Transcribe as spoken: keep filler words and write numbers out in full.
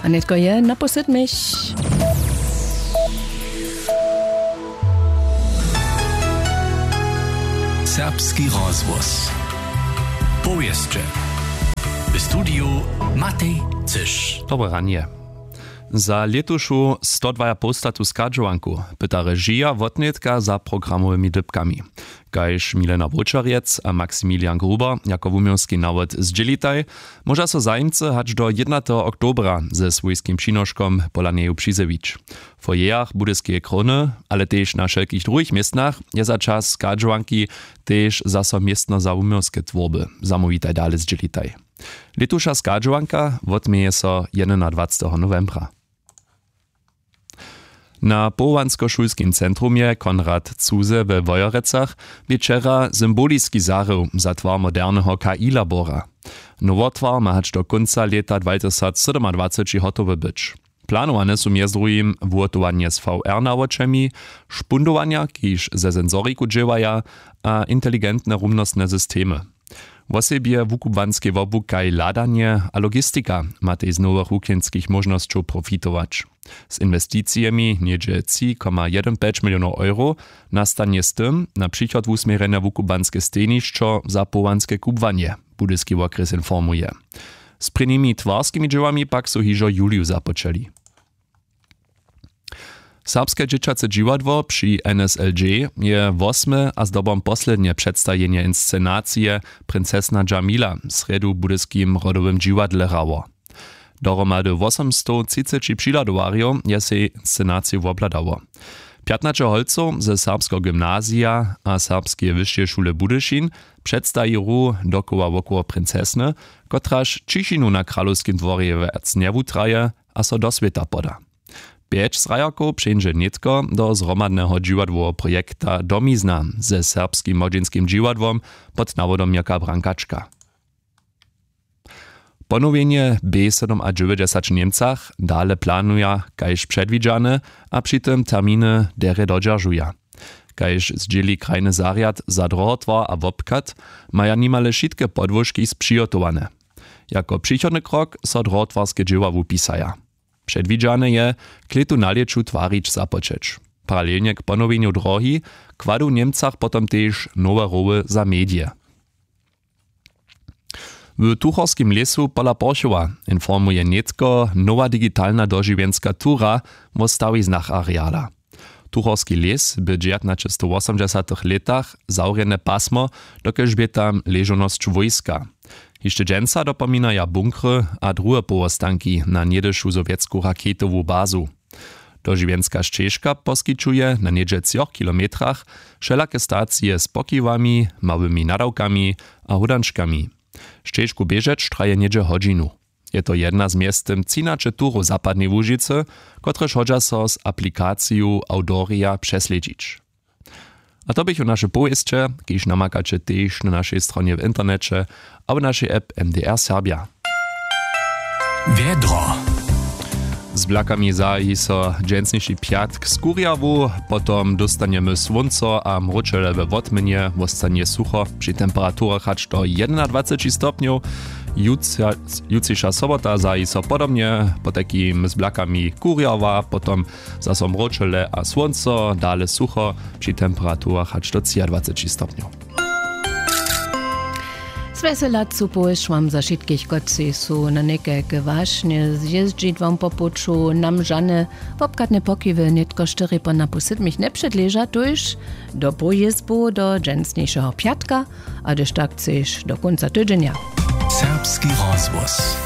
A nětko je na posydmich. Serbski rozhłos. Powěsće. W studiju Matej Cyš. Dobre ranje. Za lětušu stodwajapołstatu schadźowanku pyta režija wotnětka za programowymi dypkami. Kaž Milena Wóčerjec a Maximilian Gruber jako wuměłski nawod zdźělitaj, móža so zajimcy hač do jědnateho oktobra ze swójskim přinoškom pola njeju přizjewić. W foyerach Budyskeje krowny, ale tež na wšelkich druhich městnach je za čas schadźowanki tež zaso městno za wuměłske twórby. Zamołwitaj dale zdźělitaj. Lětuša schadźowanka wotměje so jedenadwaceteho nowembra. Na powołanskošulskim centrumje Konrad Zuse we Wojerecach bě wčera symboliski zahrył za twar moderneho K I-labora. Nowy twar ma hač do kónca lěta dwajtysacsydomadwaceći hotowy być. Planowane su mjez druhim wuhotowanje z V R nawočemi, špundowanja, kiž ze sensoriku dźěłaja, a inteligentne rumnostne systemy. Wosebje wukubłanskej wobłuka, hladanje a logistika matej z nowych wuknjenskich móžnosćow profitować. Z inwesticijemi něhdźe tři koma jedyn pjeć milionow euro nastanje z tym na přichod wusměrjene wukubłanske stejnišćo za połanske kubłanje, Budyski wokrjes informuje. Z prěnimi twarskimi dźěłami pak su hižo w juliju započeli. Serbske dźěćace dźiwadło při N S L J je wosme a zdobom poslednje předstajenje inscenacije Princesna Džamila w srjedu w budyskim rodowym dźiwadle hrało. Dohromady wosomstowtřiceći přihladowarjow je sej inscenaciju wobhladało. Pjatnaće holcow ze serbskeho gymnazija a serbskeje wyšeje šule Budyšin předstajichu dokoła wokoło princesny, kotraž ćišinu na kralowskim dworje wjac njewutraje a so do swěta poda. Pjeć zhrajerkow přeńdźe nětko do zhromadneho dźiwadłoweho projekta Domizna ze serbskim młodźinskim dźiwadłom pod nawodom Jaka Brankačka. Ponowjenje B sydomadźewjećdźesat w Němcach dale planuja kaž předwidźane a při tym terminy derje dodźeržuja. Kaž zdźěli krajny zarjad za drohotwar a wobchad, maja nimale wšitke podłožki přihotowane. Jako přichodny krok so drohotwarske dźěła wupisaja. Předwidźane je, klětu na lěću twarić započeć. Paralelnje k ponowjenju drohi kładu w Němcach potom tež nowe roły za medije. W tuchorskim lěsu pola porchowa informuje nětko nowa digitalna dožiwjenska tura wo stawiznach areala. Tuchorski lěs bě w dźewjatnaćestowosomdźesatych lětach zawrjene pasmo, dokelž bě tam ležownosć wójska. Hišće dźensa dopominaja bunkry a druhe powostanki na něhdyšu sowjetsku raketowu bazu. Dožiwjenska šćežka poskićuje na něhdźe třoch kilometrach wšelake stacije z pokiwami, małymi nadawkami a hódančkami. Šćežku běžeć traje něhdźe hodźinu. Je to jedna z mjeztym třinaće turow zapadnej łužicy, kotrež hodźa so z aplikaciju Audorija přeslědźić. A to běchu naše powěsće, kiž namakaće tež na našej stronje w interneće a w našej app M D R Serbja. Wjedro. Z blakami zahaji so dźensniši pjatk z kurjawu, potom dóstanjemy słónco a mróčele we wotmjenje, wostanje sucho při temperaturach hač do jedenadwaceći stopnjow. Jutřiša sobota zahaji so podobnje, potajkim z blakami kurjawa, potom zaso mróčele a słónco, dale sucho při temperaturach hač do třiadwaceći stopnjow. Zwjeselacu powěsć wam za wšitkich, kotřiž su na někajke wašnje zjězdźidłom po puću nam žane wobchadne pokiwy nětko štyri po napu sydmich njepředleža, tuž do powězbu do dźensnišeho pjatka, a hdyž tak chceš do kónca tydźenja. Serbski rozhłos.